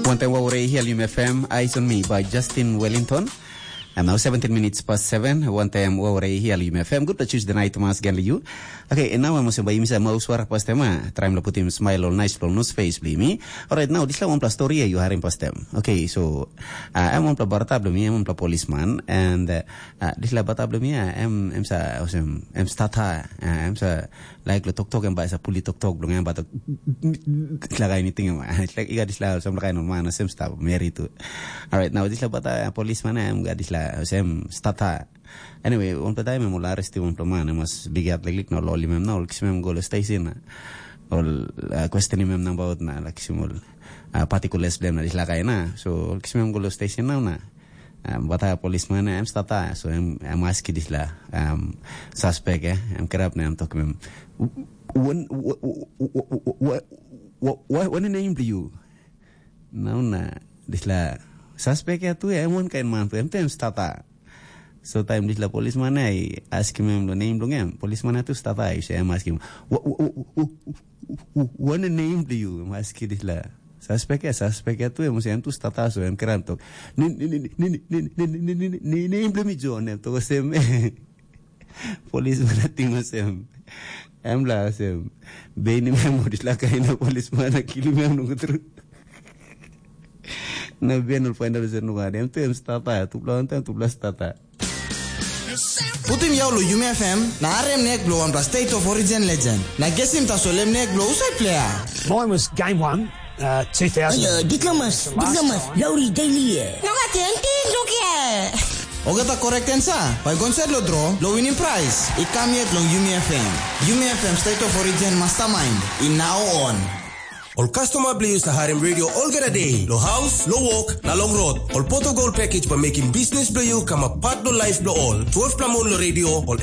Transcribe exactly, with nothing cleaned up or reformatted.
Wantaim wauwara i hialim F M, Eyes on Me by Justin Wellington. And now seventeen minutes past seven, wantaim wauwara i hialim F M. Good to choose the night, Thomas Ganliu. Okay, and now I'm also by Misa Mauswara pastem, ah, trying to put him smile all nice, all nose face, bli mi. All right, now this one plus story you are in pastem. Okay, so, uh, I'm on pla barata, bli mi, I'm on pla policeman, and, uh, uh, this la barata, bli mi, uh, I'm, I'm sa, I'm, I'm stata, uh, I'm sa, like lo tok tok, I'm ba sa puli tok tok, bli mi, I'm ba tok, like anything, it's like, you got this la, some kind of man, same stuff, married to. All right, now this la barata, uh, policeman, I'm got this la, same stata. Anyway, wanpela taim em ol arestim wanpela man, em mas bigiat liklik na ol holim em na ol kisim em go long station na ol uh, questionim em nabaut na ol kisim ol uh, particulares bilem na dispela kain na. So ol kisim em go long station nau na um, bata polisman em stata, so em em aski dispela um, suspek eh, em kirap na em tokim em, "Wan name bilong yu?" Nau na dispela suspek ya tu em wankain man tu em tu em stata. So taim dispela polisman ya i askim em long nem bilong em, polisman ya tu stata, i em askim, "Wan nem bilong yu?" Em askim dispela suspek ya, suspek ya tu em em tu stata, so em kira tok, "Nem bilong mi John," em tok olsem. Polisman ating olsem, em la olsem, beinim em ol dispela kain na polisman na kilim em nogut tru. Na ben ol paindaun olsem nogat, em tu em stata, tupela wantaim tupela stata. Putim yau lo Yumi F M na harim nek bilong wanpela State of Origin legend. Na gesim tasol em nek bilong husat pleiya? Mine was game one, uh, two thousand. Ayo, dit lamas, dit lamas, lauri daily eh. Nogat en tin lukia. Olgeta correct answer bai go inside lo draw lo winning prize i kam yet long Yumi F M. Yumi F M State of Origin Mastermind i now on. Ol customer bilong yu sa harim radio olgeta day, lo house, lo work, na long road. Ol pot of gold package bai mekim business bilong yu kamap part lo life bilong ol. Twelve pla mun lo radio, ol